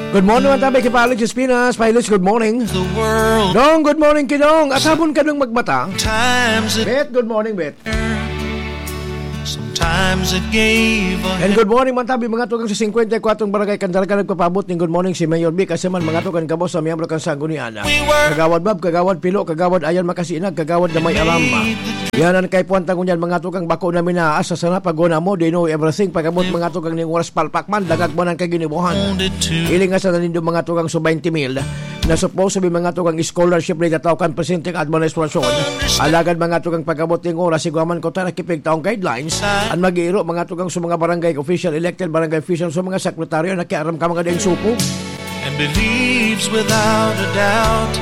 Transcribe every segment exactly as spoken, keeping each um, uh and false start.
Good morning, mga tabi, kay Palids Espinas. Palids, good morning. The world. Dong, good morning, Kidong. At habon ka nang magmata. Times it Bet, good morning, Bet. Sometimes it gave a And good morning, mga tabi, mga tugang sa singkwenta y kwatro barangay Candaraga, nagpapabot ning good morning si Mayor Vic. Kasi man, mga tugang gabos sa miyembro kan Sanggunian. We were Kagawad Bab, Kagawad Pilo, Kagawad Ayan Makasinag, Kagawad na may alam. Yan ang kaipuhan ta ngunyan, mga tugang, bako na minaas sa sana paguna mo, they know everything. Pagabot, mga tugang, ning oras palpak man, dagag man ang kaginibuhan. Ilinga sa nanindo, mga tugang, so twenty mil na supposed to be, mga tugang, scholarship na itatao kan presente ka administrasyon. Alagad, mga tugang, pagabot ning oras, igwa man ko ta nakipigtaong guidelines, an mag-iiro, mga tugang, sa mga barangay official, elected barangay official, sa mga sekretaryo, nakiaram ka mga daing supo. And believes without a doubt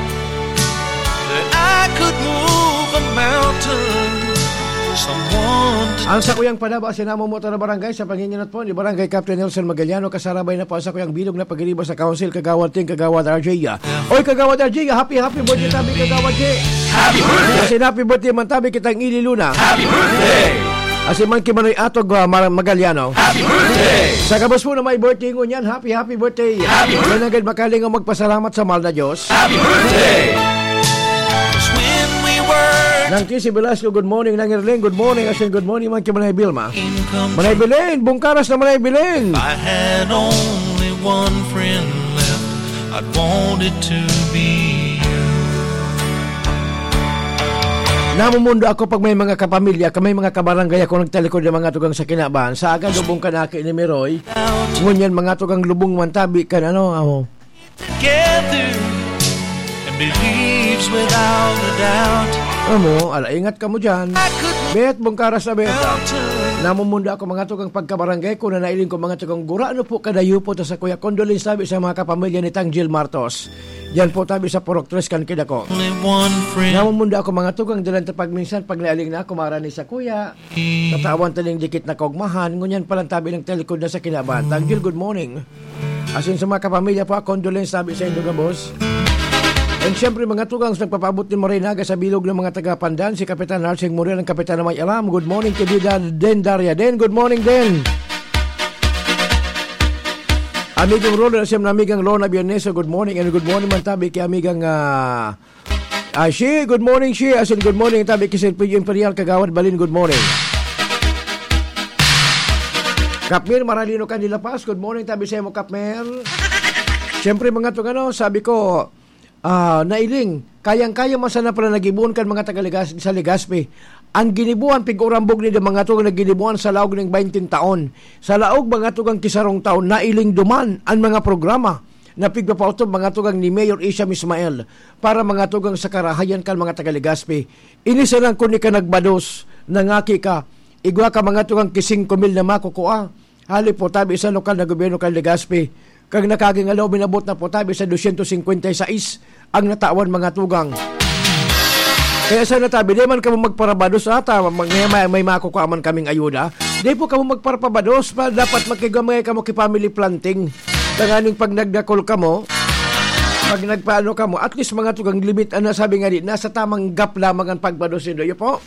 that I could move a mountain. Someone to Ang sakuyang panaba, sinamo mo ta na barangay sa panginginot po ni Barangay Captain Nelson Magaliano, kasarabay na po ang sakuyang bilog na pagiriba sa Council, Kagawad Ting, Kagawad R J. Oy, Kagawad R J, happy, happy birthday tabi, Kagawad J. Happy birthday! Kasi happy birthday man tabi kitang Ili Luna. Happy birthday! Asi man ki Manoy Atog, ah, Mar-, Magaliano. Happy birthday! Sa gabos po na may birthday ngunyan, happy, happy birthday! Happy birthday! Kaya agad makalingaw magpasalamat sa mahal na Diyos. Happy birthday! When we were Nang Kisi Velasco, good morning. Nang Erling, good morning. Asin, good morning man ki Manay Vilma. Income Manay Belen, bungkaras na Manay Belen. I had only one friend left. I'd want it to be you. Namumundo ako pag may mga kapamilya, ka may mga kabarangay ako nagtalikod ng mga tugang sa kinaban. Sa aga, lubong ka na aki ni Meroy. Ngunyan, mga tugang lubong man tabi kan ano, amo. Together and believes without a doubt. Amo, ala, ingat ka mo dyan. I could Bet, bungkaras na Bet. Mountain. Namumundo ako, mga tugang pagkabarangay ko na nailing ko, mga tugang gura, ano po, kadayo po ta sa kuya. Condolence tabi sa mga kapamilya ni Tanggil Martos. Yan po tabi sa Purok Tres kan Kidako. Only one friend. Namumundo ako, mga tugang, dalan ta pag minsan, pag nailing na ako, marani sa kuya. Tatawan ta ning dikit na kaugmahan, ngunyan pa lang tabi ng talikod na sa kinaban. Tanggil, good morning. Asin sa mga kapamilya po, condolence tabi sa indo gabos. And syempre, mga tugang sa nagpapaabot ni Marinaga sa bilog ng mga taga Pandan, si Kapitan Harsing Muriel, ang kapitan na may alam. Good morning, kaibigan Den Daria. Den, good morning, Den. Amigong Roland, asin na amigang Lorna Bierneso, good morning. And good morning man tabi kay amigang, ah, Ah, Shi, good morning, Shi. Asin, good morning, tabi ki Sir Pio Imperial, Kagawad Balin, good morning. Kapmir, Maralino kan de La Paz, good morning, tabi sa imo, Kapmir. Siyempre, mga tong ano, sabi ko, ah, nailing, kayang-kaya man sana pala nagibuon kan mga taga Legas-, sa Legazpi. Ang ginibuan, pig-urambog ni mga tong nagginibuan sa laog ning baynte taon. Sa laog, mga tugang kisarong taon, nailing duman ang mga programa na pigpapautob, mga tugang ni Mayor Isham Ismael. Para mga tugang sa karahayan kan mga taga Legazpi. Ini sana kun ika nagbados, nangaki ka, igwa ka mga tugang ki singko mil na makukua. Hali po tabi sa lokal na gobyerno kan Legazpi. Kag nakaging alaw, minabot na po tabi sa dosyentos singkwenta y sais ang natawan mga tugang. Kaya sana tabi, di man kamo magparabados ata, mag-, may, may, may makukua man kaming ayuda. Di po kamo magparapabados, pa, dapat magkigamay kamo ki family planting. Tanganing pag nagdakol kamo, pag nagpaano kamo, at least mga tugang limit, ano sabi nga di, nasa tamang gap lamang ang pagbados nindo. Iyo po.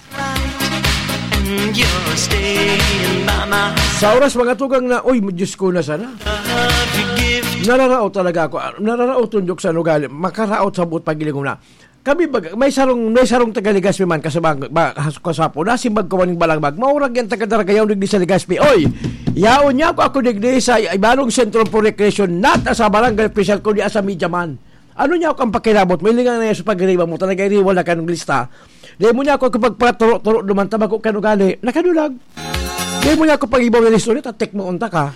And you're staying by my Sa oras mga tugang na, uy, Diyos ko na sana. Love you give Nararaot talaga ako. Ah, nararaot yung Diyos sa ugali. Makaraot sa buot paghiling ko na. Kami bag-, may sarong, may sarong taga Legazpi man, kasabang, ba, has-, kasapo, nasimbag ko maning balagbag. Maurag yan taga Daragayaw, digdi sa Legazpi. Oy, yaon niya ako, ako digdi sa Ibalong Centro for Recreation, not sa barangay official, kundi sa media man. Ano niya ako ang pakilabot? May linga na yan sa pagriba mo, talaga iriwal na kanong lista. Di mo niya ako kapag paturo-turo duman, tabako kan ugali, nakadulag. Di mo niya ako pag-ibaw na istorya, tatek mo unta ka.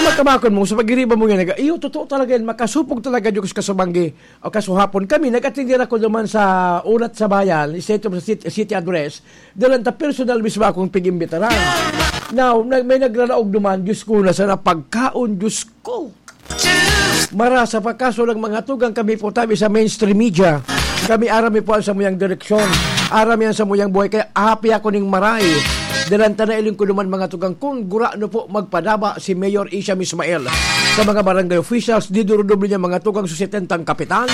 Ang magkamakon mo, sa pagriba mo yan, nag-, iyo, totoo talaga yan, makasupog talaga, Diyos ka sa banggi. O kasuhapon kami, nag-atender ako duman sa Ulat sa Bayan, State of the City, City Address. Dalan ta personal mismo akong pig-imbitaran. Now, nag-, may nagraraog duman, Diyos ko, na sana pagkaon, Diyos ko. Marasa pa, kaso lang mga tugang kami po tabi sa mainstream media. Kami aram mi po ang samuyang direksyon. Aram yan samuyang buhay. Kaya happy ako ning maray. Dalan ta na iling ko duman mga tugang kung gura no po magpadaba si Mayor Isham Ismael sa mga barangay officials, di durudoble niya mga tugang sa setentang kapitan.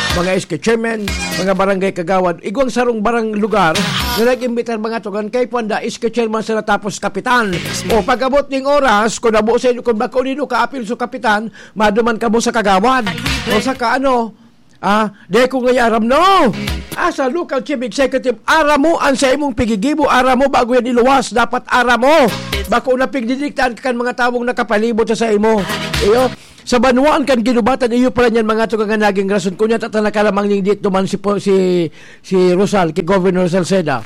mga S K chairman, mga barangay kagawad, igwang sarong barang lugar na nag-imbitar, mga tugang, kay Puanda, S K chairman sa natapos kapitan. O pag-abot ning oras, kung nabo sa inyo, kung bako nindo kaapil sa kapitan, maduman kamo sa kagawad. O sa ka, ano, ah, di ko ngayon aram, no? Ah, sa local chief executive, aram mo ang sa imong pigigibo, aram mo bago yan iluwas, dapat aram mo. Bako na pigdidiktaan ka kan mga tawong nakapalibot sa, sa imo. Iyo, sa banwaan kan ginubatan, iyo pala niyan, mga tugang, nga naging rason. Kunya, tatana ka lamang ning diit duman si, po- si, si Rosal, kay Governor Salceda.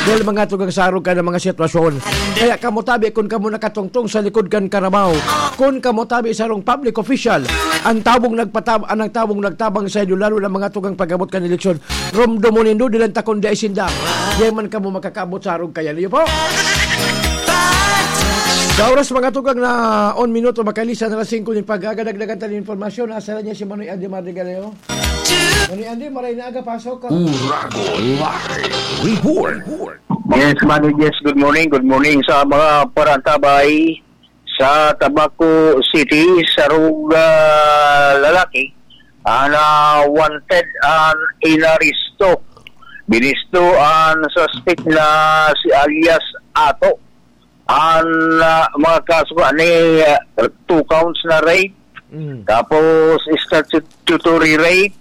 Dahil, mga tugang, sarog ka ng mga sitwasyon. Kaya kamo tabi, kung kamo nakatungtong sa likod kan karabaw, kung kamo tabi, sarong public official, ang tabong nagpatab-, ang tabong nagtabang sa inyo, lalo na, mga tugang, pag-abot kan eleksyon, romdo mo nindo, dilan takon di ay sinda. Di man kamo makakaabot sa arog kaya niyo po. Sa oras, mga tugang, na on minuto, makalisa na alas singko nin pag-aga, dagdagan tayo ng impormasyon. Asa na niya si Manoy Andy Mardigaleo? Manoy Andy, maray na aga, pasok ka. Uragon Live Report. Yes, Manoy, yes, good morning, good morning sa mga parantabay sa Tabaco City, sarog, ah, lalaki, an, ah, wanted an inaresto. Binisto an suspect na si alias Ato. An, ah, mga kaso ani, ah, two counts na rape, Mm. tapos statutory rape,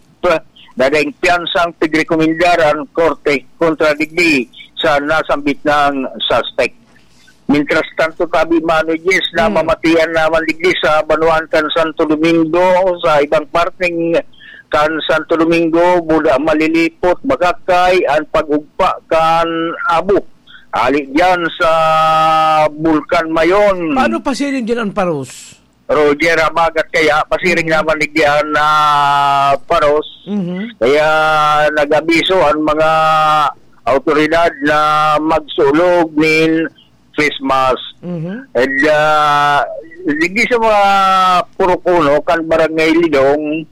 na daing piyansang pigrekomendar an korte kontra digdi sa nasambit na suspect. Mientras tanto, tabi, Mano Jess, na Mm. mamatian naman digdi sa banwaan kan Santo Domingo, sa ibang parteng kan Santo Domingo, buda malilipot, bagakay, an pag-ugpa kan abo. Ali diyan sa Bulkan Mayon. Paano pasiring din ang paros? Roger, habagat kaya, pasiring Mhm. naman digdi an, ah, paros. Mhm. Kaya nag-abiso ang mga awtoridad na magsulog nin face mask. Mhm. And, ah, digdi sa mga purok uno kan Barangay Lidong,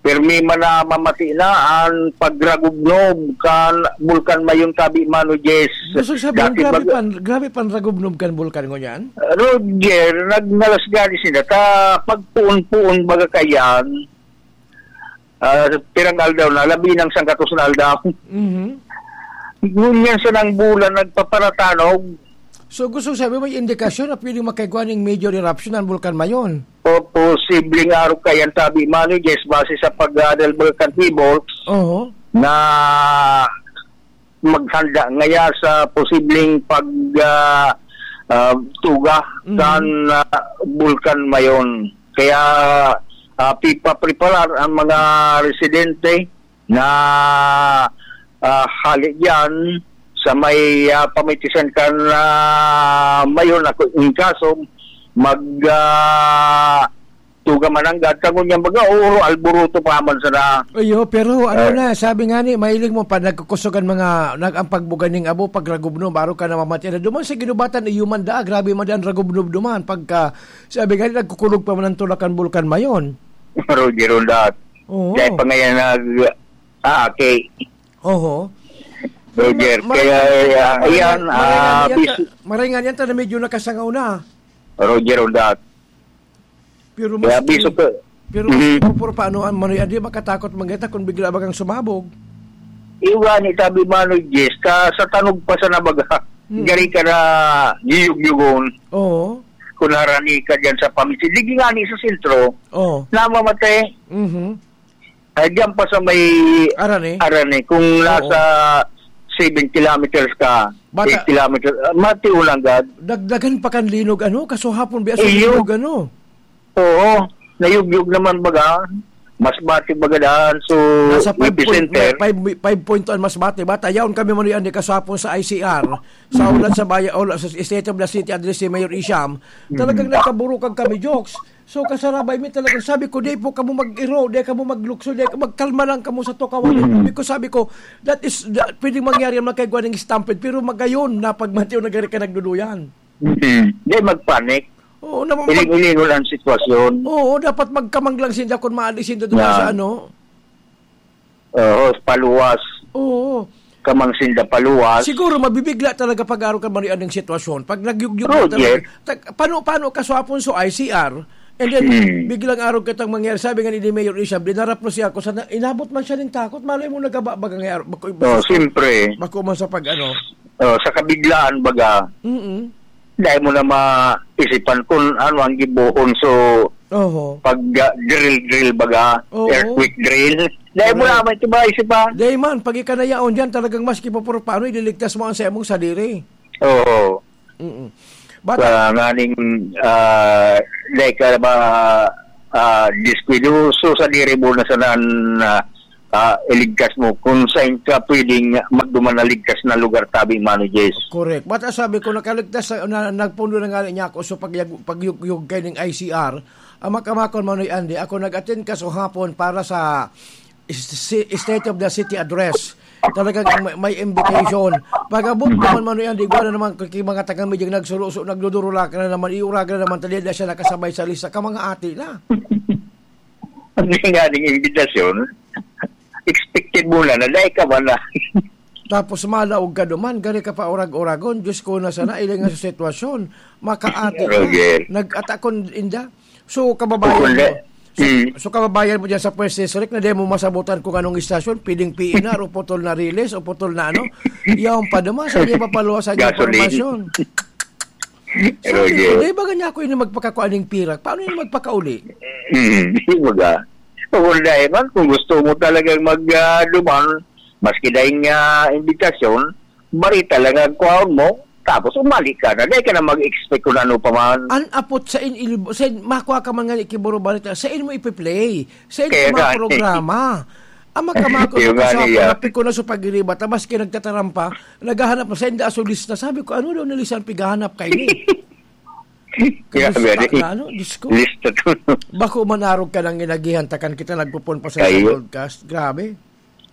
pirmi man na mamati na an pagragubnob kan Bulkan Mayon, tabi, Mano Jess. Gusto sabihin, Dati grabe bag- pan, grabe pan ragubnob kan bulkan ngunyan? Roger, nagnalas gani sila. Ta, pagpuon-puon baga kayan, ah, pirang aldaw na, labi ng sangkatos na aldaw. Mhm. Ngunyan sa nang bulan, nagpaparatanog. So, gusto sabi, may indikasyon na pwedeng makaigwa ning major eruption ang Bulkan Mayon? O, posibleng arog kayan, tabi, Mano Jess, base sa pag-aadal baga kan T-Bolts Oo. na maghanda ngaya sa posibleng pag, ah, ah, tuga Mhm. kan, ah, Bulkan Mayon. Kaya, ah, pipapreparar ang mga residente na, ah, hali diyan sa may, ah, pamitisan kan, ah, Mayon, ako, in kaso, mag, ah, tuga mananggad, kang ngunyan baga, oro, alburuto pa man sana. Ayo, pero ano Eh. na, sabi nga ni, mahiling mo pa, nagkukusog ang mga, nag-, ang pagbuga ning abo, pagragubnob, arog ka namamati. Ano, duman sa ginubatan, iyo man daa, grabe man daa an ragubnob duman. Pagka, sabi nga ni, nagkukulog pa man ang tulakan Bulkan Mayon. Roger, on that. Oo. Dahil pa ngayon nag-, ah, okay. Oho. Roger, Ma-, kaya, maray-, ah, maray-, ayan, maray nga ah, niyan ta-, bis- maray nga niyan ta na medyo nakasangaw na. Roger, on that. Pero Kaya mas biso ka. Pero mas Mhm. puro, puro paano ang Manoy Andy, makatakot man kita kung bigla bagang sumabog. Iwan, itabi, Manoy Jess, ka sa tanog pa sa nabaga, Hmm. gari ka na yuyog-yugon. Oo. Kung harani ka dyan sa pamisi. Digi nga ni sa sentro, Oo. namamatay. Mhm. Ay, diyan pa sa may Arane? Arane. Kung Oo. nasa seven kilometers ka, Bata- eight kilometers, ah, matiulang gad. Dagdagan pa kan linog, ano? Kasuhapon, biya sa Iyo. linog, ano? Oo, nayugyog naman baga. Mas bati baga daan. So, Nasa five point, epicenter. may five, five point two ang mas bati. Bata, yaon kami man yan, di kasapon sa I C R. Sa ulat sa bayan, ulat sa State of the City, address ni Mayor Isham. Talagang Mm. nagkaburukag kami, jokes. So, kasarabay mi talagang sabi ko, "Di po kamo mag-iro, di kamo maglukso, di, magkalma lang kamo sa tukawan." Mm. Sabi ko, sabi ko, "That is, that, pwedeng mangyari yan, magkaigwa ng stampede, pero magayon na pag matiyo na gari ka nagduduyan." Mm. Di magpanik. Oo, naman mag- Iling-ilingon ang sitwasyon. Oo, dapat magkamang lang sinda kung maalis sinda doon Yeah. sa ano. Oo, paluwas. Oo. Kamang sinda paluwas. Siguro mabibigla talaga pag-aro ka, Maria, ng sitwasyon. Pag nagyugyug na Roger. talaga. Tag-, paano, paano kaswapon so I C R? And then, Hmm. biglang arog kitang mangyari. Sabi nga ni Mayor Isham, dinarap mo siya ako. Sana, inabot man siya ng takot. Malay mo, nagaba-, baga nga, bako, Oh, siyempre. bako man sa pag-ano. Oh, sa kabiglaan, baga, Mm-mm. dahil mo na maisipan kung ano ang gibohon. So, Oho. pag, ah, drill-drill, baga, Oo. earthquake drill. Dahil mo Correct. na may tiba, isipan. Dahil man, pag ika na yaon dyan, talagang maski pa paano, ililigtas mo ang sa imong sadiri. Oo. Mm-mm. Bata- Sa nganing, ah, dahil ka ba, ah, diskuido, so sa diri mo na sana, ah, ah, iligtas mo kung saan ka pwedeng magduman na ligtas na lugar, tabi, Mano Jess. Correct. Bata sabi ko, nakaligtas sa, na, nagpundo na nga niya ako, so pagyag-, pagyugyog kay ning I C R, ang makamakon, Manoy Andy, ako nag-attend ka sa hapon para sa si-, State of the City Address. Talagang may, may invitation. Pag-abot naman, Manoy Andy, igwa na naman kay mga taga-media nagsuruso, nagdudurulakan na naman, iuragan na naman, tali na siya nakasabay sa lista ka mga ati na. Ang nga ning imbitasyon, expected mo na, na dahil ka ba na? Tapos malaog ka duman, gari ka pa urag-uragon, Diyos ko, na sana, ilingan sa sitwasyon, makaati na, Roger. nag-atakon inda. So, kababayan Kung mo, le-, so, mm. so, kababayan mo dyan sa First District na di mo masabutan kung anong istasyon, pwedeng P N R o putol na Riles o putol na ano, yaon pa naman, sa di mapaluwasan yung Gasoline. impormasyon. Sabi Roger. ko, "Di ba ganyan ako yung magpakakuan ng pirak? Paano yung magpakauli?" Hmm, di ba ga? Kung dahil man, kung gusto mo talagang mag, ah, duman, maski dahil nga imbitasyon, barita lang ang kwaon mo, tapos umali ka na. Dahil ka na mag-expect kung ano pa man. An apot sa in-, il-, sa in-, makwa ka man nga ni Kiburo Barita, sa in mo ipi-play, sa in Kaya ka mga nga, eh. programa. Ang makamako Yung na nga kasama, niya. napiko na sa pagiriba, tabas kayo nagtatarampa, naghahanap na sa inda aso lista. Sabi ko, "Ano daw na lista ang pighahanap kayo ni?" Kaya Lista very na, ano, Diyos ko. lista to. Bako manarog ka ng inagihan, takan kita nagpupon pa sa Kayo. broadcast. Grabe.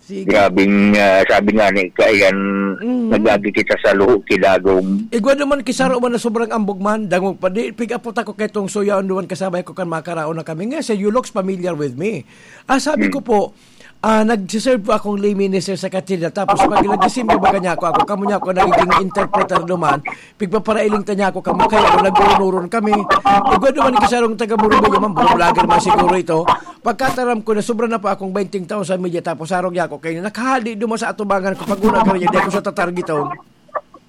Sige. Grabing, ah, sabi nga ni Kayan, Mhm. nagagi kita sa luho, kidagom. Igwa naman kisaro man na sobrang ambog man, dangog pa. Di, pick up po tako kay tong suya, duman kasabay ko kan makaraon na kami. Nga siya, "You looks familiar with me." Ah, sabi Hmm. ko po, ah, nagsiserve po akong lay minister sa katedral. Tapos pag nagsisimba, baga niya ako, ako, kamo niya ako nagiging interpreter duman. Pigpaparailing ta niya ako, kamo kayo, ako, nagurunurun kami. Igwa naman kisarong taga Murubay, man, vlogger man siguro ito. Pagkataram ko na sobra na pa akong twenty thousand media, tapos sarong niya ako kayo, nakahali duman sa atubangan ko, pag una ka rin, di ko sa tatargeton.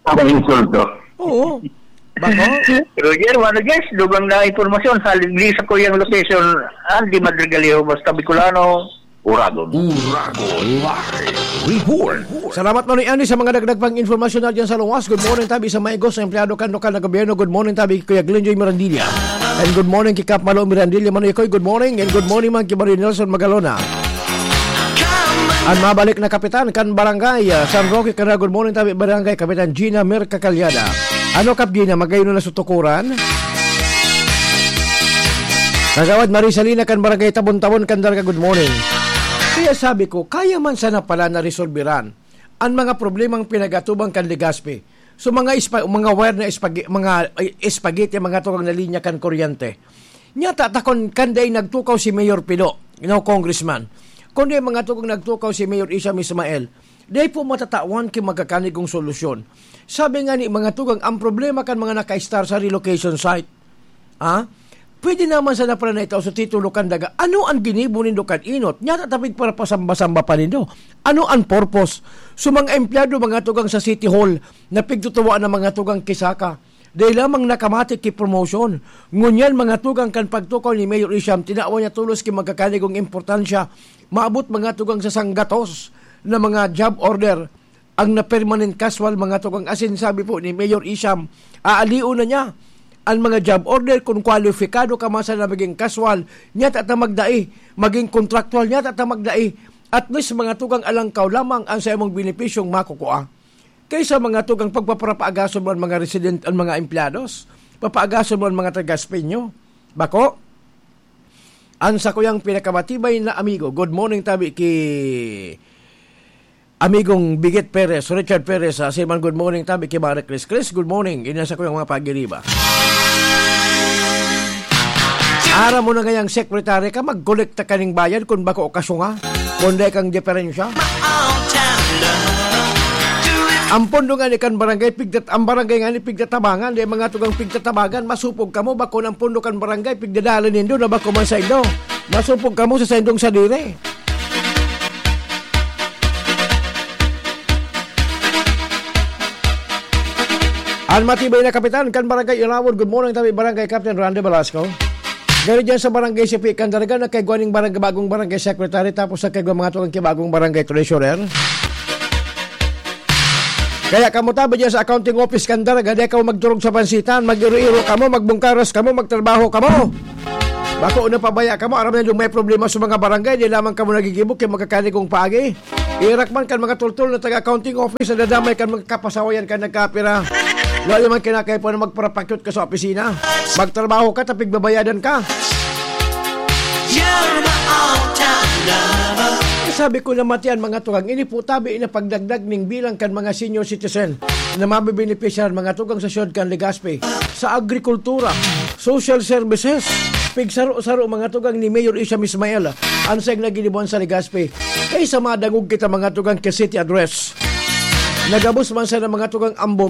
Ang insulto. Oo. Bako? Roger, Mano Jess, dugang na impormasyon, sa Liglis sa Kuyang Location, Andy Madrigaliho, basta Bicolano, Uragon. Uragon Live Report. Salamat, Manoy Andy, sa mga dagdag pang informasyon na dyan sa luwas. Good morning, tabi sa Maigos, sa empleyado kan lokal na gobyerno. Good morning, tabi, Kuya Glenjoy Mirandilla. And good morning, kay Kap Malo Mirandilla, Manoy Koy. Good morning, and good morning, man, kay Mario Nelson Magalona. An mabalik na kapitan kan barangay, ah, San Roque, Canara. Good morning, tabi barangay, Kapitan Gina Merca Calyada. Ano, Kap Gina, magayon na sa tukuran? Kagawad Marisalina kan barangay Tabon-Tabon, Candaraga, good morning. Kaya sabi ko, kaya man sana pala na resolbiran an mga problemang pinag-atubang kan Legazpi. So, mga ispa-, mga wire na espag-, mga, ay, espagete, mga tukang na linya kan kuryente. Nya tatakon kan dai nagtukaw si Mayor Pido, no, Congressman. Kundi mga tukang nagtukaw si Mayor Isham Ismael, dai po matatawan ki magkakanigong solusyon. Sabi nga ni mga tugang, ang problema kan mga naka-star sa relocation site. Ha? Pwede naman sana pala na itao sa titulo kan daga. Ano ang ginibo nindo kan inot? Nya tatapig para pasamba-samba pa nindo. Ano ang purpose? So, mga empleyado, mga tugang sa City Hall, na pigtutuwa ng mga tugang kisaka. Dai lamang nakamati ki promotion. Ngunyan, mga tugang kan pagtukaw ni Mayor Isham, tinawan niya tolos ki magkakanigong importansya. Maabot mga tugang sa sanggatos na mga job order ang na-permanent casual, mga tugang. Asin sabi po ni Mayor Isham, aalion na niya ang mga job order kun kwalipikado ka man sana maging casual, nya ta magdai, maging kontraktual, nya ta magdai. At least, mga tugang, alangkaw lamang ang sa imong benepisyong makukua. Kaysa mga tugang pagpaparapaagason mo ang mga resident, ang mga empleyados, papaagason mo ang mga taga-Espeño. Bako, ang sakuyang pinakamatibay na amigo. Good morning, tabi ki Amigong Bigit Perez, Richard Perez, ah, Siman, good morning, tabi ki Mare Chris Chris, good morning. Ini ang sakuyang mga pagiriba. Ara mo na ngayang sekretary ka, magkolekta ka ning bayad kung bako o kasunga, kung dai kang diferensya. Ang pondo ngani kan barangay, pigtat-, ang barangay ngani pigtatabangan, di mga tugang pigtatabangan, masupog kamo, bako ng pondo kan barangay, pigdadala nindo na bako man sa indo. Masupog kamo sa saindong sadiri. Ang matibay na kapitan kan Barangay Irawon, good morning, tabi Barangay Captain Randy Velasco. Gari dyan sa Barangay Sipi, Candaraga, nagkaigwa ning barang-, bagong barangay secretary, tapos nagkaigwa mga tugang kibagong barangay treasurer. Kaya kamo tabi dyan sa accounting office, Candaraga, di kamo magturog sa pansitan, mag-iro-iro kamo, magbungkaras kamo, magtrabaho kamo. Bako na pabaya kamo, aram na yung may problema sa mga barangay, di lamang kamo nagigibo kay magkakanigong paagi. Irak man kan mga tultol na taga-accounting office, nadadamay kan mga kapasawayan kan nagkapira. Wala man kinakaipo na magparapakyot ka sa opisina. Magtrabaho ka, tapig babayadan ka. You're my all-time lover. Sabi ko na matian, mga tugang, ini po tabi na pagdagdag ning bilang kan mga senior citizen na mabibenepisyar, mga tugang, sa siyudad kan Legazpi, sa agrikultura, social services, pigsaro-saro, mga tugang, ni Mayor Isham Ismael, ang sayang na ginibuan sa Legazpi. Kaysa madangog kita, mga tugang, kay City Address. Nagabos man sa mga tugang ambog,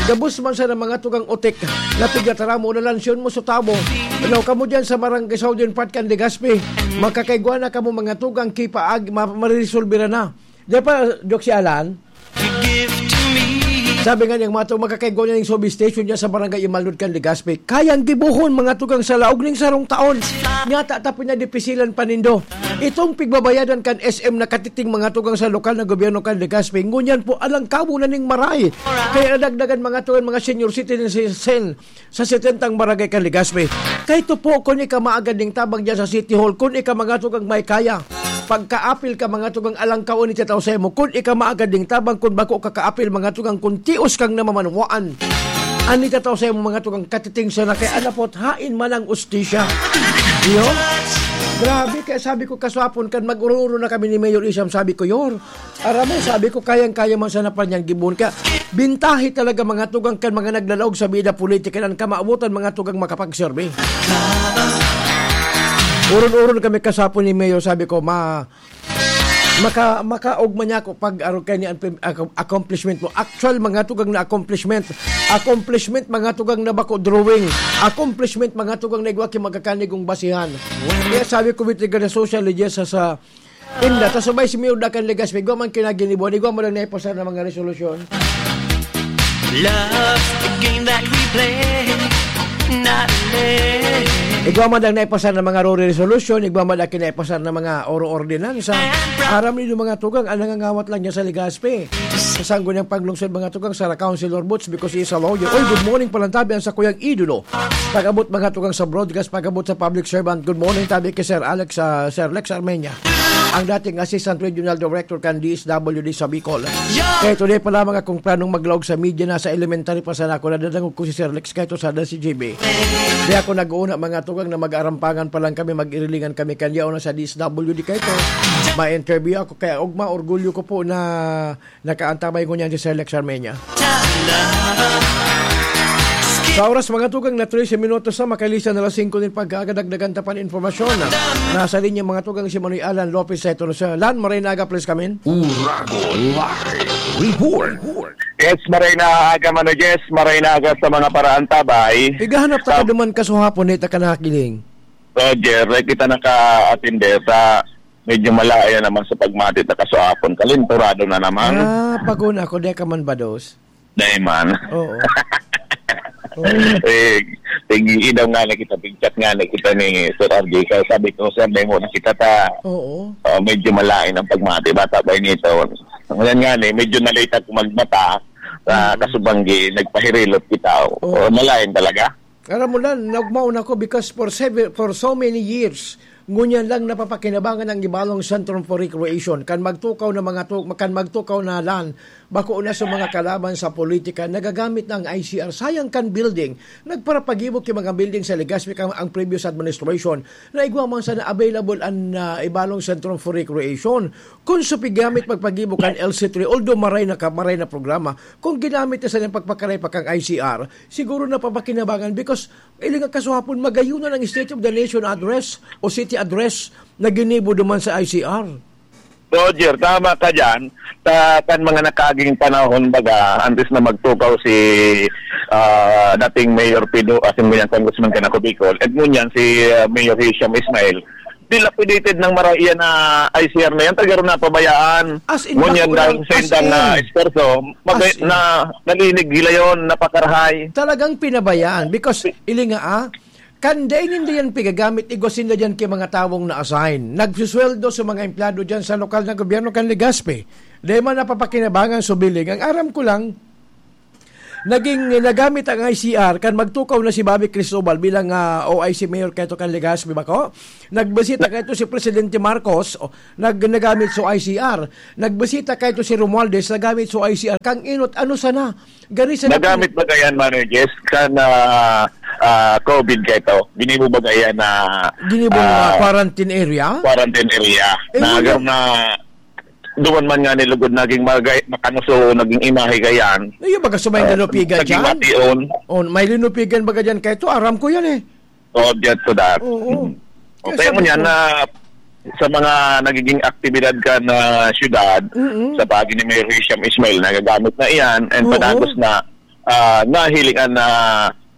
gabos man sa mga tugang utik, na pigtataramo na lansyon mo sa tabo. Ano, kamo dyan sa Barangay Southern Part kan Legazpi, makakaigwa na kamo mga tugang kipaag, ma-, mariresolbira na. Di pa, Doc, si Alan? Sabi nga niyang mga tugang, makakaigwa na yung substation niya sa Barangay Imalnod kan Legazpi. Kayang gibuhon, mga tugang, sa laog ning sarong taon. Nyata ta pinadipisilan pa nindo. Itong pigbabayadan kan S M na katiting, mga tugang, sa lokal na gobyerno kan Legazpi, ngunyan po alang kamo na ning maray. Kaya nadagdagan, mga tugang, mga senior citizen sa setentang barangay kan Legazpi. Kay ito po, kun ika maagad ning tabang dyan sa City Hall, kun ika, mga tugang, may kaya. Pagkaapil ka, mga tugang, alang kaon ni tataw sa imo, kun ika maagad ning tabang, kun bako kakaapil, mga tugang, kun tios kang namamanwaan. An ni tataw sa imo, mga tugang, katiting siya na kay anapot, hain man ang ustisya. Iyo? Grabe, kaya sabi ko, kaswapon kan mag-uro-uro na kami ni Mayor Isham, sabi ko, Yor, aram mo, sabi ko, kayang-kaya man sana pa niyang gibuhon. Kaya, bintahi talaga, mga tugang, kan mga naglalaog sa bida politika, ang kamawotan, mga tugang, makapagserbi. Uron-uron kami kasapon ni Mayor, sabi ko, ma, maka, makaogma niya ako pag arog kay ni ang pim-, ac-, accomplishment mo. Actual, mga tugang na accomplishment. Accomplishment, mga tugang na bako drawing. Accomplishment, mga tugang na igwa ki magkakanigong basihan. Kaya sabi ko, with regard sa social media, sa, sa, Inda, ta subay si Mayor Dakan Legazpi, igwa man kinaginibuan, igwa mo lang naipasar na mga resolusyon. Love's the game that we play, not play. Igwa man lang naipasar na mga Rory resolution, igwa man lang kinaipasar na mga oro ordinansa. Aram niyo mga tugang, ang nangangawat lang niya sa Legazpi. Sa sanggo niyang paglungsod, mga tugang, sa Councilor Boots because he is a lawyer. Oy, good morning, Palantabi, ang sakuyang idolo. Pag-abot, mga tugang, sa broadcast, pag-abot sa public servant. Good morning, tabi kay Sir Alex, ah, Sir Lex Armenia, ang dating Assistant Regional Director kan D S W D sa Bicol. Kaya today pa lamang akong planong maglaog sa media, nasa elementary pa sana ako, nadadangog ko si Sir Lex, kaya ito sana si J B. Di ako nag-uuna, mga tugang, na mag-arampangan pa lang kami, mag-irilingan kami, kanya una sa D S W D, kaya ito, ma-interview ako, kaya ugma, orgulyo ko po na nakaantabay ko niyan si Sir Lex Armenia. Sa oras, mga tugang, na trese minutos na, makalisan na alas singko nin pagkaagad, dagdagan ta pa nin impormasyon. Nasa linya, mga tugang, si Manoy Alan Lopez sa ito. Sir Alan, maray na aga, please come in. Uragon Live Report. Yes, maray na aga, Mano Jess, maray na aga sa mga paraantabay. Igahanap ta ka Sa duman kasuhapon, di ta ka nakakiling. Roger, kita naka-atinde sa medyo malaya naman sa pagmati ta kasuhapon. Kalinturado na naman. Ah, paguna ako, di ka man bados. Dai man. Oo. Oo. Eh, tig-idaw nga na kita, pig-chat nga na kita ni Sir R J. Kaya sabi ko, "Sir, dai mo na kita ta." Oo. Oh, medyo malain ang pagmati. Bata pa inito. Ngayon nga ni, medyo nalita ko magmata sa Mm. kasubanggi, nagpahirilot kita. Oo. Oh, malain talaga. Aram mo lang, nagmaon ako because for seven, for so many years, ngunyan lang napapakinabangan ang Ibalong Centrum for Recreation. Kan magtukaw na mga tu-, kan magtukaw na lan, bako na sa mga kalaban sa politika, nagagamit na ang I C R. Sayang kan building. Nagparapagibo ki mga building sa Legazpi kan ang previous administration na igwa man sana available an, ah, Ibalong Centrum for Recreation. Kung sa pigamit magpagibo kan L C three, although maray na ka, maray na programa, kung ginamit na sana pagpakaray pa kang I C R, siguro napapakinabangan because iling kasuhapon, magayunan ang State of the Nation Address o City Address na ginibo duman sa I C R. Roger, tama ka dyan. Sa kan mga nakaaging panahon, baga, antes na magtukaw si, ah, dating Mayor Pido, asin mo yan, Congressman Kanaco Bicol, at ngunyan si, ah, Mayor Hisham Ismail, dilapidated ng maray iyan na I C R na yan, talaga rin napabayaan. As in, Ngunyan bako dahil lang, sa as indang, ah, in. esforso, mag- As in. na nalinig gilayon, napakarahay. Talagang pinabayaan because, ili nga, ah, kan dai ninda yan pigagamit, igwa sinda diyan ki mga tawong na-assign. Nagsusweldo sa mga empleyado diyan sa lokal na gobyerno kan Legazpi. Dai man napapakinabangan sa billing. Ang aram ko lang, naging nagamit ang I C R kan magtukaw na si Bobby Cristobal bilang, ah, O I C mayor kaito kan Legazpi, bako? Nagbisita kaito si Presidente Marcos, o, nag-, nagamit sa I C R. Nagbisita kaito si Romualdez, nagamit sa I C R. Kang inot, ano sana? Gani sa Nagamit ba kaya yan, Manoy Jess? Kan, ah, ah, COVID kaito? Ginibo ba kaya na, Ginibo na ah, quarantine area? quarantine area? Eh, Na yun agar yung na duman man nga nilugod, naging magay-, makanuso, naging imahe gayan. Ayun, baga sa may Ah, linupigan naging dyan? mation. Oh, may linupigan baga dyan kaito? Aram ko yan eh. Oh, just to that. Oo. Mm. Kaya Okay, sabi mo yan ko na sa mga nagiging aktibidad ka na syudad, Mm-mm. sa pagi ni Mayor Hisham Ismail, nagagamit na iyan, and Oo. padagos na, ah, nahilingan na,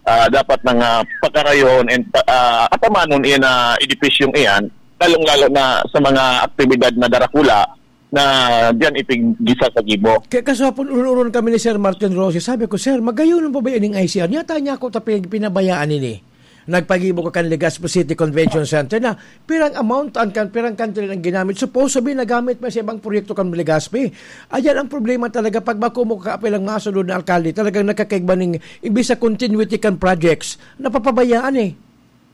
ah, dapat nang, ah, pakarayon and pa-, ah, atamanon iyan na edipisyong iyan, lalong-lalo na sa mga aktibidad na darakula na diyan ipiggisa sa gibo. Kaya kaswapon, uron-uron kami ni Sir Martin Rosie. Sabi ko, "Sir, magayon pa ba ining I C R? Yata niya ako ta pig-, pinabayaan ini." Nagpagibo ka kan Legazpi City Convention Center na pirang amount ang kan-, pirang kantil ang ginamit. Supposed to be nagamit pa sa ibang proyekto kan Legazpi. Ayan ang problema talaga pag bako mo kaapil ang mga sunod na alkalde. Talagang nakakaigba ning imbis sa continuity kan projects, napapabayaan eh.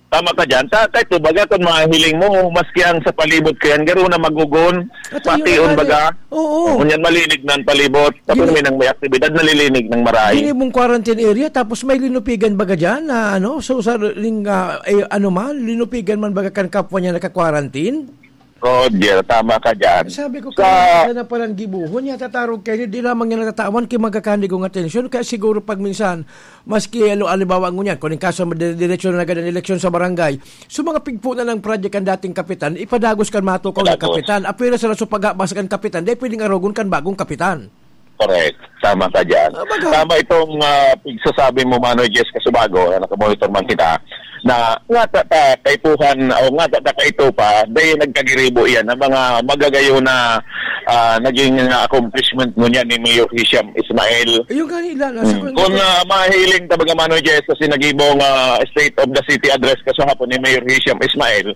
Tama ka dyan. Ta-, kahit baga kung mahiling mo, maski ang sa palibot kayan, garo na magugon, At ayun pati na on nga baga. eh. Oo. Ngunyan malinig na ang palibot. Tapos Gini- may nang may aktibidad, nalilig ng maray. Gini mong quarantine area, tapos may linupigan baga dyan na ano, so sa ring, ah, eh, ano man, linupigan man baga kan kapwa niya naka-quarantine? Roger, tama ka dyan. Sabi ko, Sa kaya sana palang gibuhon, yata tarog kayo, di lamang niya natatawan kay magkakanigong atensyon, kaya siguro pag minsan, maski, ano, halimbawa ngunyan, kung yung kaso, dire-, diretsyo na agad ang eleksyon sa barangay, so mga pigpo na ng project ang dating kapitan, ipadagos kan matukaw na Padagos. kapitan, apwera sa laso paghabas kan kapitan, dahil pwedeng arogon kan bagong kapitan. Correct. Tama ka dyan. Ah, baga. Tama itong, ah, pagsasabi mo, Manoy Jess Casubago, na nakamonitor man kita, na nga ta, ta, kaipuhan, o nga ta, ta, kaito pa, dahil nagkagiribo iyan, ang mga magagayo na, ah, naging, ah, accomplishment mo niyan ni Mayor Hisham Ismail. Ayun nga nila, nasa Hmm. Kung, ah, mahiling ta, baga, Manoy Jess, sa sinagibong, ah, State of the City Address kasahapon ni Mayor Hisham Ismail,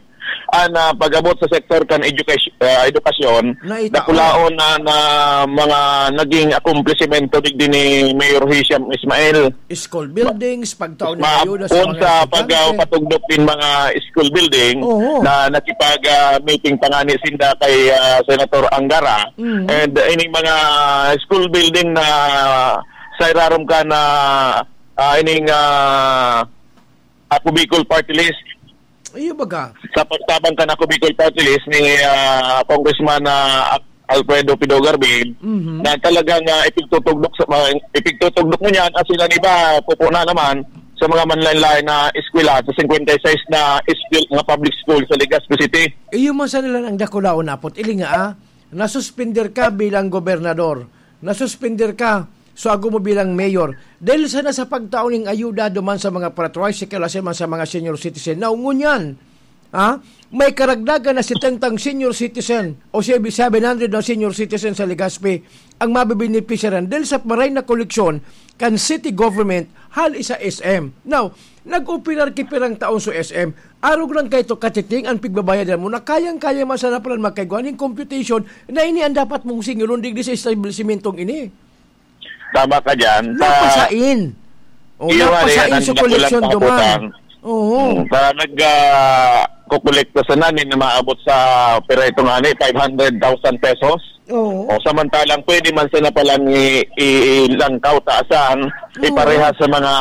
an, ah, pag-abot sa sektor kan edukasy-, ah, edukasyon, Naitaon. dakulaon na, na mga naging akomplisimento digdi ni Mayor Hisham Ismail. School buildings, pagtaon ng Ma-, ayuda sa kung mga sa pag, ah, estudyante. patugdok din mga school building Oo. na nakipag, ah, meeting pa nga ni sinda kay, ah, Senator Angara. Mm. And, uh, ining mga school building na sa irarom ka na, ah, ining, ah, Ako Bicol Party List. Iyo baga. Sa pagtabang kan Ako Bicol Party List ni, ah, Congressman, ah, Alfredo Pido Garbil, Mhm. na talagang, ah, ipigtutugdok sa mga, ipigtutugdok mo niyan, at sila iba, pupo na naman sa mga manlain-lain na eskwela sa cincuenta y seis na eskwel-, mga public school sa Legazpi City. Iyo man sana lang ang dakulaon, apot. Ili nga, ah, nasuspender ka bilang gobernador. Nasuspender ka, so ago mo bilang mayor. Dahil sana sa pagtao ning ayuda duman sa mga para-tricycle, asin man sa mga senior citizen. Now, ngunyan, ha? May karagdagan na setenta senior citizen o si seven hundred na senior citizen sa Legazpi ang mabibenepisyaran dahil sa maray na koleksyon kan city government hali sa S M. Now, nag-operar ki pirang taon sa S M. Arog lang kaito katiting ang pigbabayadan mo na kayang-kaya man sana palan magkaigwa ning computation na ini ang dapat mong singilon digdi sa establisimentong ini. Tama ka dyan. Sa Napasain. O, Iyo nga, napasain yan ang sa dakulang koleksyon duman. kahapotan. Oo. Hmm, sa nag, ah, kukolekta sana, ni na maabot sa pira ito nga ni, five hundred thousand pesos. Oo. O, samantalang pwede man sana palang i-, i-, ilangkaw taasan, Oo. ipareha sa mga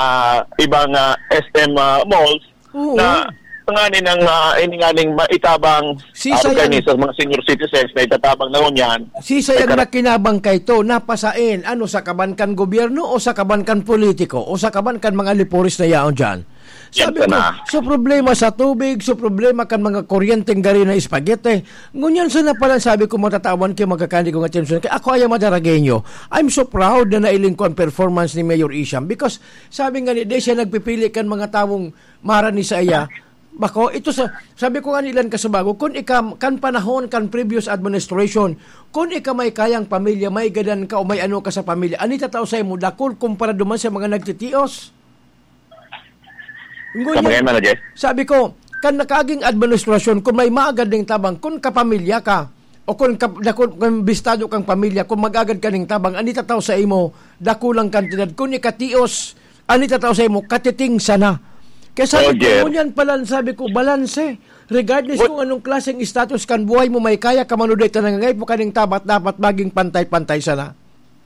ibang, ah, S M, ah, malls, Oo. na nganing, ah, ini nganing maitabang, Sisay ah, ang kani sa mga senior citizens na itatabang na ngunyan. Sisay Ay, ang kara- nakinabang kay to, napasain, ano, sa kaban kan gobyerno o sa kaban kan politiko o sa kaban kan mga liporis na yaon dyan? Sabi ko, "So problema sa tubig, so problema kan mga kuryenteng gari na spaghetti." Ngunyan sana pala sabi ko, "Matatawan kay magkakani ko nga Jameson, kay ako ay Madaragueño. I'm so proud na nailing ko ang performance ni Mayor Isham." Because sabi nga ni, di siya nagpipili kan mga tawong marani sa iya. Bako, ito sa, sabi ko nga nilan kasubago, kung ika, kan panahon kan previous administration, kung ika may kayang pamilya, may gadan ka o may ano ka sa pamilya, ani tatao sa imo, dakul kumpara duman sa mga nagtitios. Ngunyan, Sabi ngayon, Mano Jess? sabi ko, kan nakaaging administrasyon, kung may maagad ning tabang, kung kapamilya ka, o kung, kap, dakul, kung bistado kang pamilya, kung mag-agad ka ning tabang, ani tatao sa imo, dakulang kantidad. Kung ikatios, ani tatao sa imo, katiting sana. Kaya sabi ko, Roger. ngunyan pala, sabi ko, balanse. Regardless But kung anong klaseng status kan buhay mo, may kaya ka man o di, ta nangangaipo ka ning tabat, dapat maging pantay-pantay sana.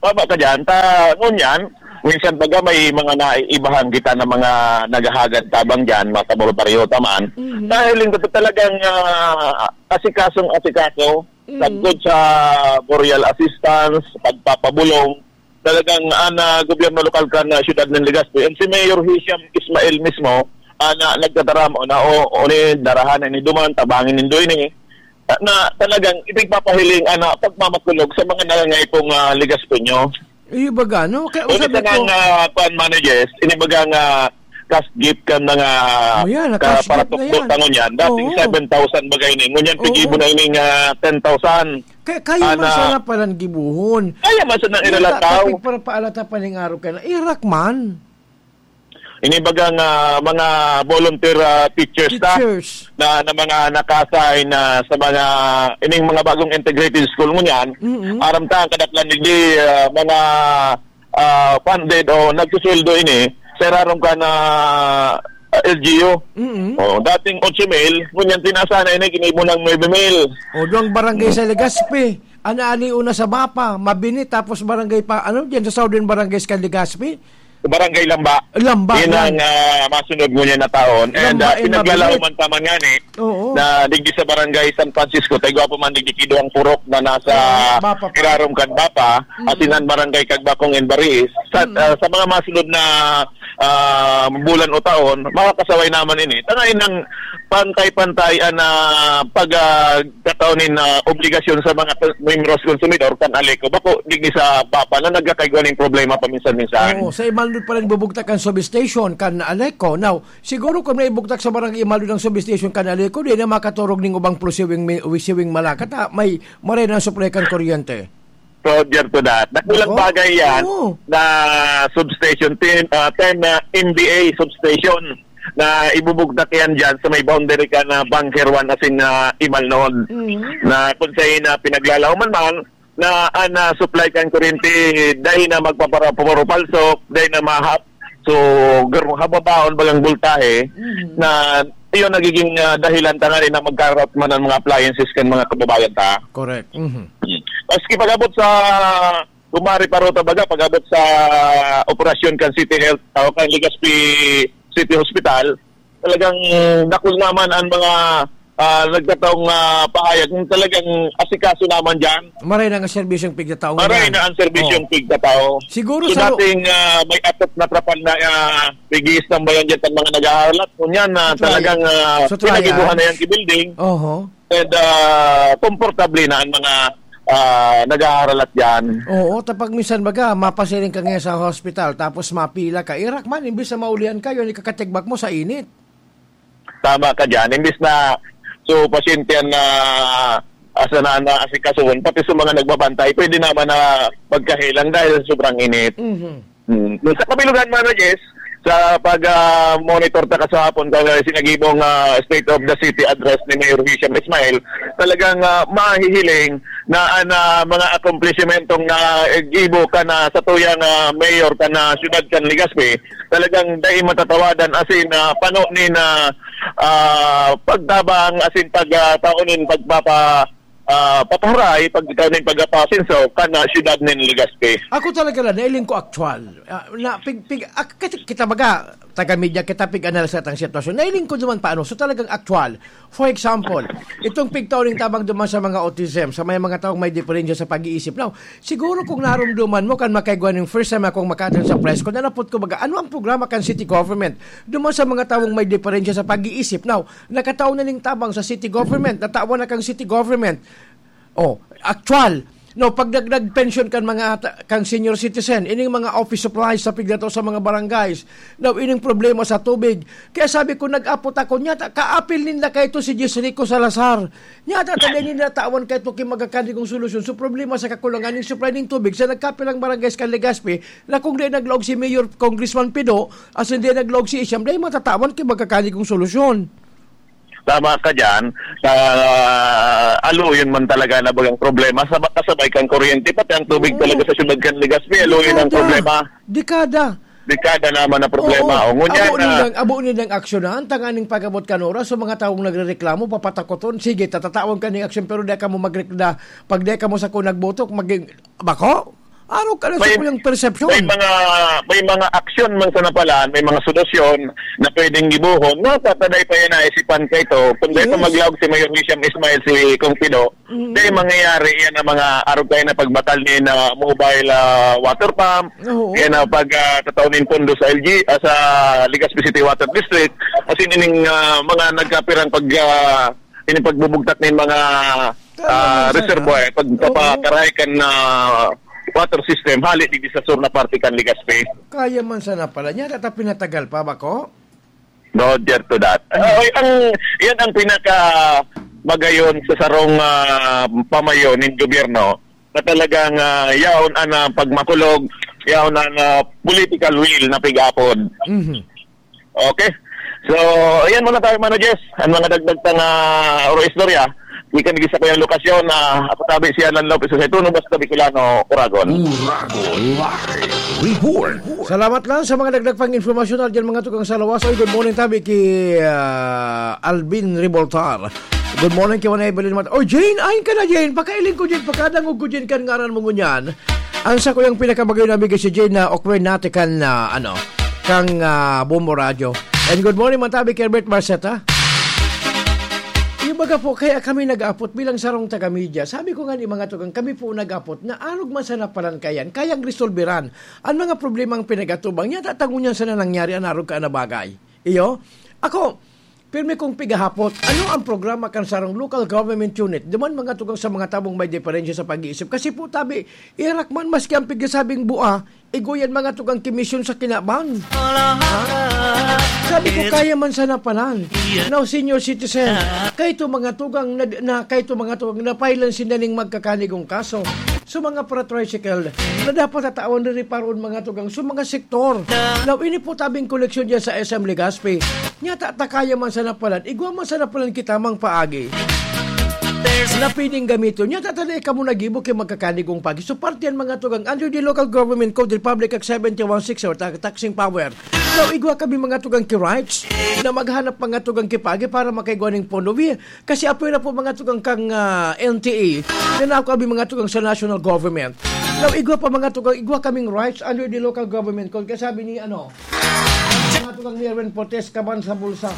Tama ka dyan. Ta, ngunyan, minsan baga may mga naiibahan kita na mga naghahagad tabang dyan, mga kabaryo-baryo taman. Mhm. Dahil hindi ko talagang, ah, asikasong-asikaso, Mhm. sagkod sa burial assistance, pagpapabulong, talagang, ah, na gobyerno lokal kan, ah, siyudad ng Legazpi. And si Mayor Hisham Ismail mismo, ah, na nagtataram, o na, o, o ni, darahan ni duman, tabangin nindo ini. Na, na talagang ipigpapahiling, ah, na pagmamakulog sa mga nangangaypong, ah, Legazpeño. Iyo baga, no? Kaya Kung sabi isa ko, nga, ah, kuwan, Mano Jess, ini baga nga cash gift kan mga Oh, yan, na ka-, cash para gift na tukdo yan. tangon yan. Dating Oo. seven thousand bagay ni. Ngunyan, Oo. pigibo na ini nga ten thousand. Kaya, kaya man Ana. sana palang gibuhon. Kaya man sana Yan, iralataw. ta-, tapi para paalata pa ning araw ka na. Irak man. Ini baga nga mga volunteer, ah, teachers ta, Teachers. na, na mga naka-assign na sa mga, ining mga bagong integrated school ngunyan. Mm-mm. Aram ta, ang kadaklan digdi, ah, mga, ah, funded o nagsusweldo ini, sa irarom kan, ah, L G U. Mm-mm. Oh, dating otso mil, ngunyan tinaasan na ini, ginibo ng nuebe mil. O, duwang barangay sa Legazpi. Ana, ali una sa Bapa, Mabini, tapos barangay pa, ano, diyan sa Southern Barangays kan Legazpi? Barangay Lamba. Lamba, Yan yan. ang, ah, masunod ngunyan na taon. And, Lamba ah, and pinaglalaho Mabini. man taman nga ni, Oo. na digdi sa Barangay San Francisco, tayo gwapo man digdi kido ang purok na nasa Oo, Bapa pa. irarom kan Bapa, Mm. asin ang Barangay Kagbakong and Bariis. Sa, Mm. ah, sa mga masunod na, ah, bulan o taon, makakasaway naman ini. Tangayin ng pantay-pantay ang, ah, pag, ah, kataon nin, ah, obligasyon sa mga pe-, miyembros konsumidor kan Aleco. Bako, digdi sa Bapa na nagkakaigwa ning problema paminsan-minsan. Oo, sa Imalnod pa lang bubugtak ang substation kan Aleco. Now, siguro kung may bugtak sa barangay Imalnod ang substation kan Aleco, di na makaturog ning ubang pro siwing mi-, siwing malakat, ha? May, maray na ang supply kan kuryente. Roger to that. Nakulang Nako. bagay yan Oo. na substation, ten, ah, ten na M V A substation na ibubugtak yan dyan sa may boundary ka na Bunker one asin na Imalnod. Mm. Na kung sa'yo na pinaglalaoman man, na, ah, na supply kan kuryente, dahil na magpapara-, puro palsok, dahil na mahap. So, gar-, hababaon bagang bultahe, Mm. na iyon nagiging, ah, dahilan tanganing na magka-rout man ang mga appliances kan mga kababayan ta. Correct. Mhm. Maski pag-abot sa, kumari pa rota baga, pag-abot sa operasyon kan City Health o kan Legazpi City Hospital, talagang dakul naman ang mga, ah, nagkataong, ah, pahayag. Kung talagang asikaso naman dyan, Maray na nga serbisyong pigtatao Maray ngunyan. na ang serbisyong Oo. pigtatao. Siguro So, sa ro- dating, ah, may atop na trapal na, ah, pigiis tambayan dyan sa mga nag-aaral at ngunyan na Sa trial. talagang, ah, Sa trial. pinagibuhan na yan ki building. Oho. And, ah, komportable na ang mga, ah, nag-aaral at dyan. Oo, tapag minsan baga, mapasiring ka ngayon sa hospital, tapos mapila ka. Irak man, imbis na maulian ka, yun, ikakatigbak mo sa init. Tama ka dyan. Imbis na, so, pasyente yan na asa na, na asikasuhon, pati sa mga nagbabantay, pwede naman na magkahelang dahil sa sobrang init. Mhm. Hmm. Sa kabilugan, Mano Jess, sa pag, ah, monitor ta kasahapon, kaya sinagibong, ah, State of the City Address ni Mayor Hisham Ismail, talagang, ah, mahihiling na ang, ah, mga akomplisimentong na gibo ka na sa tuyang, ah, mayor ka na siyudad kan Legazpi, talagang dai matatawadan, asin, ah, pano ni na, ah, pagtabang, asin pag, ah, taon nin pagpapa-, ah, papaharay, pag ikaw na yung pag-apasin, so, kan, ah, siyudad nin Legazpi. Ako talaga na, nailing ko aktual. Ah, na, pig, pig, ak-, kasi kita baga, taga-media kita, pig-analyze sa atang sitwasyon. Nailing ko naman paano. So, talagang aktual. For example, itong pigtaw ning tabang duman sa mga autism, sa may mga taong may diferensya sa pag-iisip. Now, siguro kung narumduman mo, kan makaigwa ning first time akong maka-attend sa press con, nanapot ko baga, ano ang programa kan city government duman sa mga taong may diferensya sa pag-iisip? Now, nakatao na ning tabang sa city government, natawan na kang city government. Oh, aktual. No, pagdagdag pensyon kan mga ta-, kan senior citizen, ining mga office supplies sa pigdato sa mga barangays. Now, ining problema sa tubig. Kaya sabi ko, nag-apot ako, nyata, kaapil ninda kaito si Jis Rico Salazar. Nyata, tabi ninda tawan kaito ki magkakanigong solusyon. So, problema sa kakulangan ng supply ng tubig sa nagkapilang barangays kan Legazpi, na kung di naglaog si Mayor Congressman Pido, as in di naglaog si Isham, dahil matatawan ki magkakanigong solusyon. Tama ka dyan. Ah, aluyon man talaga na bagang problema. Sa kasabay kang kuryente, pati ang tubig Oo. talaga sa siyudad kan Legazpi, aluyon ang Dekada. problema. Dekada. Dekada naman ang problema. Oo. O, ngunyan Abo na nindang, abo nindang aksyonan, tanganing pag-abot kan oras, so mga taong nagrereklamo, papatakoton, sige, tatatawan ka ning aksyon, pero di ka mo magrekda, pag di ka mo sa kunag botok, maging, bako? Araw ka na sa May, kuyang persepsyon. may mga, may mga aksyon man sa napalaan, may mga solusyon na pwedeng gibohon, na tataday pa yan naisipan ka ito. Kung dahil pa Yes. maglaog si Mayor Hisham Ismail, si Kong Pido, Mm. dahil mangyayari yan ang mga araw kayo na pagbatal ni na mobile, ah, water pump, Oo. yan ang pag, ah, tataw nin pondo sa L G, ah, sa Legazpi City Water District, as in, ining, ah, mga nagkapirang pag, ah, ining pagbubugtak nin mga, Tama ah, yan, sir, reservoir, ah. pag, Oo. papakaray kan, ah, water system, hali digdi sa sur na parte kan Legazpi. Kaya man sana pala niya, data pinatagal pa ba ko? Roger to that. Ah, okay, ang, yan ang pinaka magayon sa sarong, ah, pamayo nin gobyerno na talagang, ah, yaon ang, ah, pagmakulog, yaon ang, ah, political will na pig-apod. Mhm. Okay? So, ayan muna tayo, Mano Jess. Ang mga dagdag tang, ah, oro istorya, gikan gisa ko yung lokasyon na ako tabi si Alan Lopez sa Tuno, basta Bicolano, Uragon. Uragon Live Report. Salamat lang sa mga dagdag pang informasyon na dyan, mga tugang sa lawas. Oy, good morning, tabi ki, ah, Alvin Revoltar. Good morning, ki Juan Evelyn Mat-, oh, Jane, ayon ka na, Jane. Pakailing ko, Jane. Pakadangog ko, Jane, kan ngaran mo ngunyan. Ang sa kuyang pinakamagayon na bigay si Jane na okwen natin kan, ah, ano, kang, ah, Bombo Radyo. And good morning, Matabi, Herbert Marceta. Yung baga po, kaya kami nag-aapot bilang sarong taga-media. Sabi ko nga ni mga tugang, kami po nag-aapot na arog man sana palan kayan, kayang resolberan ang mga problemang pinag-atubang niya. Tatangon niya sana nangyari ang arog ka na bagay. Iyo? Ako, pirmi kong pigahapot, ano ang programa kan sarong local government unit? Duman mga tugang sa mga tabong may diferensya sa pag-iisip. Kasi po, tabi, irak man maski ang pigasabing bua, igo yan mga tugang ki misyon sa kinabang. Ha? Sabi ko, kaya man sana palan. Now, senior citizen, kaito mga tugang na, na kaito mga tugang na pailan sinda ning magkakanigong kaso. So, mga para-tricycle na dapat tatawan rin reparoon mga tugang. So, mga sektor. Now, ini po tabing koleksyon dyan sa S M Legazpi. Nya, ta-, takaya man sana palan. Igwa man sana palan kita mang paagi. Na pwedeng gamiton. Nya, tatanay ka mo nagibo kay magkakanigong pagi. So, parte yan mga tugang. Under the Local Government Code, Republic Act seventy-one six or ta-, taxing power. Now, igwa kami mga tugang ki rights na maghanap mga tugang ki pagi para makaigwa ning pondo. Wi-, kasi apoy na po mga tugang kang, ah, N T A. Na nako abi mga tugang sa national government. Now, igwa pa mga tugang, igwa kaming rights under the local government code. Kaya sabi ni, ano, mga tugang ni Erwin Portes, kaban sa bulsa.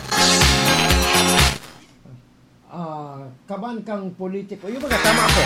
Ah, kaban kang politiko. Yung mga tama ako.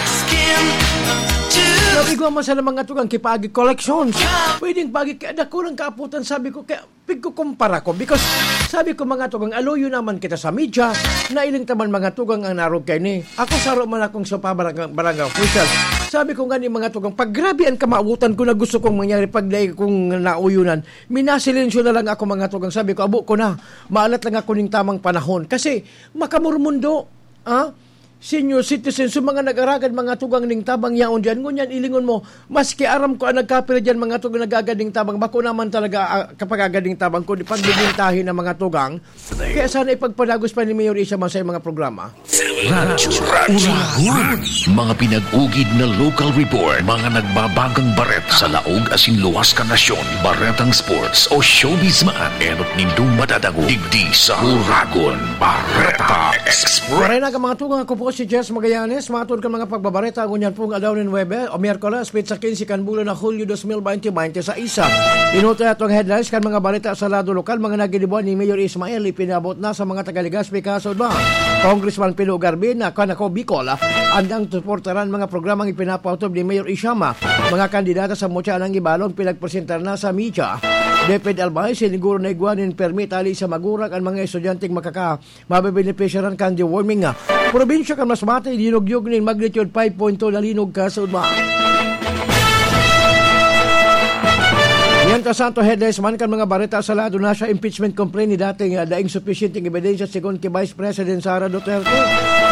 Now, igwa man sana mga tugang, kipagi collections. Pwedeng pagi, kaya dakulang kaaputan, sabi ko, kaya pigkukumpara ko. Because, sabi ko, mga tugang, aluyo naman kita sa media, nailing taman mga tugang ang narog kay ni. Ako, saro man akong sa pabarang-, barangay official. Sabi ko nga ni mga tugang, pag grabe ang kamautan ko na gusto kong mangyari, pag dai kong nauyonan, minasilensyo na lang ako, mga tugang. Sabi ko, abo ko na, maalat lang ako ning tamang panahon. Kasi, makamurmundo, ah, senior citizen, so mga nag-aragad, mga tugang ning tabang yaon diyan. Ngunyan, ilingon mo, maski aram ko ang nagkapira diyan, mga tugang nag-agad ning tabang, bako naman talaga, ah, kapag agad ning tabang, kundi pagbibintahin ng mga tugang. Kaya sana ipagpadagos pa ni Mayor Isa Masay mga programa. Radyo Uragon. Mga pinag-ugid na local report, mga nagbabagang bareta sa laog asin luwas ka nasyon, baretang sports o showbiz man, enot nindong madadangog digdi sa Uragon Bareta Express. Maray na ka mga tugang, ako po si Jess Magallanes. Matod kan mga pagbabareta, ngunyan pong aldaw nin Huwebes o Miyerkules, petsa quince kan bulan na Hulyo dos mil bente, bente sa isa. Inutoy atong headlines kan mga bareta sa lado lokal, mga nagidibuan ni Mayor Ismael, ipinabot na sa mga taga Legazpi, Kaso ba? Congressman Pino Garvin, na kan ako, Bicol, andang suportaran mga programang ipinapaotob ni Mayor Ishama. Mga kandidata sa Mutya ng Ibalong pinagpresentar na sa media. DepEd Albay, siniguro na igwa nin permit ali sa magurang an mga estudyanteng makaka mabebenepisyaran kan deworming. Probinsya kan Masbate, dinugyog nin magnitude five point two na linog kasaudma. Mientras tanto, headlines man kan mga bareta sa lado na sa impeachment complaint ni dating, ah, daing supisyenteng ebidensya segun ki Vice President Sara Duterte.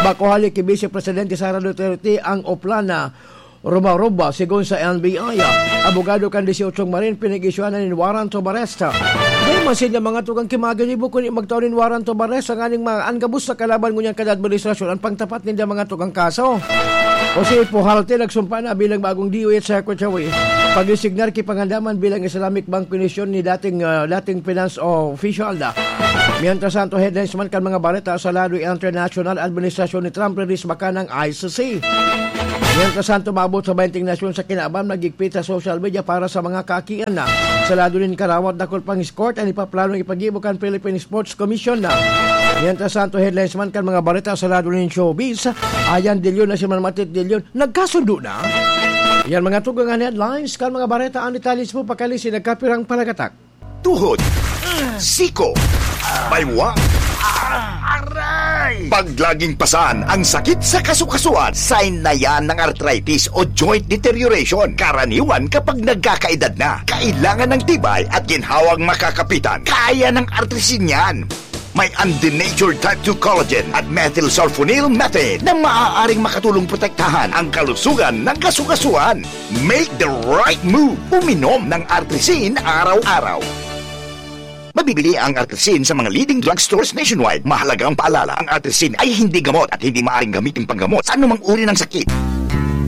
Bako hali ki Vice Presidente Sara Duterte ang oplan na Ruba-ruba, segun sa N B I, abogado kan disyotso marin pinag-isyuhan na nin warrant of arrest. Dai man sinda mga tugang ki maginibo kundi magtao nin warrant of arrest ang aning mga anggabos sa kalaban ngunyan kada administrasyon ang pangtapat ninda mga tugang kaso. Jose Pujalte nagsumpa na bilang bagong D O H Secretary. Pag-resignar ki Pangandaman bilang Islamic Bank Commission ni dating, ah, dating finance official na. Mientras tanto, headlines man kan mga bareta sa lado international, administrasyon ni Trump ririsbaka ng I C C. Mientras tanto, maabot sa baynte nasyon sa kinaban, magigpit sa social media para sa mga kaakian na. Sa lado nin karawat, dakul pang escort an ipaplanong ipagibo kan Philippine Sports Commission na. Mientras tanto, headlines man kan mga bareta sa lado nin showbiz, Ayan, Dilyon na si Manmatit Dilyon. Nagkasundo na? Yan mga tugang an headlines kan mga bareta, ang detalye sa pagkalisi nagkapirang palagatak. Tuhod, siko, baywa, aray! Pag laging pasan ang sakit sa kasukasuan, sign na yan ng arthritis o joint deterioration. Karaniwan kapag nagkakaedad na, kailangan ng tibay at ginhawang makakapitan. Kaya ng Artrisin yan. May undenatured type two collagen at methylsulfonyl methane na maaaring makatulong protektahan ang kalusugan ng kasukasuan. Make the right move. Uminom ng Artrisin araw-araw. Mabibili ang Artrisin sa mga leading drugstores nationwide. Mahalagang paalala, ang Artrisin ay hindi gamot at hindi maaaring gamitin panggamot sa anumang uri ng sakit.